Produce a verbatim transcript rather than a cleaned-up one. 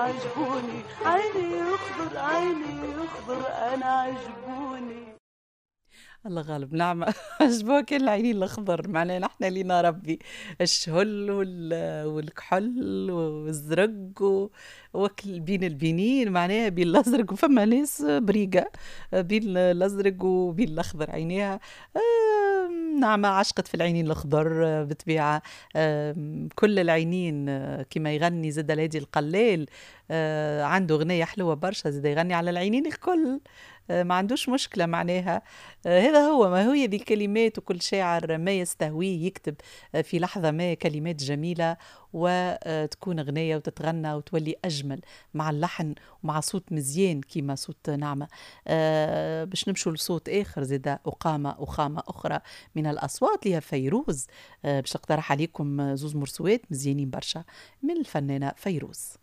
عجبوني، عيني يخضر عيني يخضر أنا عجبوني. الله غالب نعمة عجبوك كان العينين الأخضر، معناها نحن لينا ربي الشهل والكحل والزرق وكل بين البينين، معناها بين الأزرق، وفما ناس بريقة بين الأزرق وبين الأخضر عينيها. نعمة عشقت في العينين الأخضر بالطبيعة، كل العينين كما يغني زاد الهادي القلال، عنده غنية حلوة برشا زاد يغني على العينين الكل، ما عندوش مشكلة معناها. هذا هو ما هي ذي الكلمات، وكل شاعر ما يستهويه يكتب في لحظة ما كلمات جميلة وتكون غنية وتتغنى وتولي أجمل مع اللحن ومع صوت مزيان كيما صوت نعمة. باش نمشوا لصوت آخر زاد أقامة أخامة أخرى من الأصوات اللي هي فيروز. باش نقترح عليكم زوز مرسوات مزيانين برشا من الفنانة فيروز.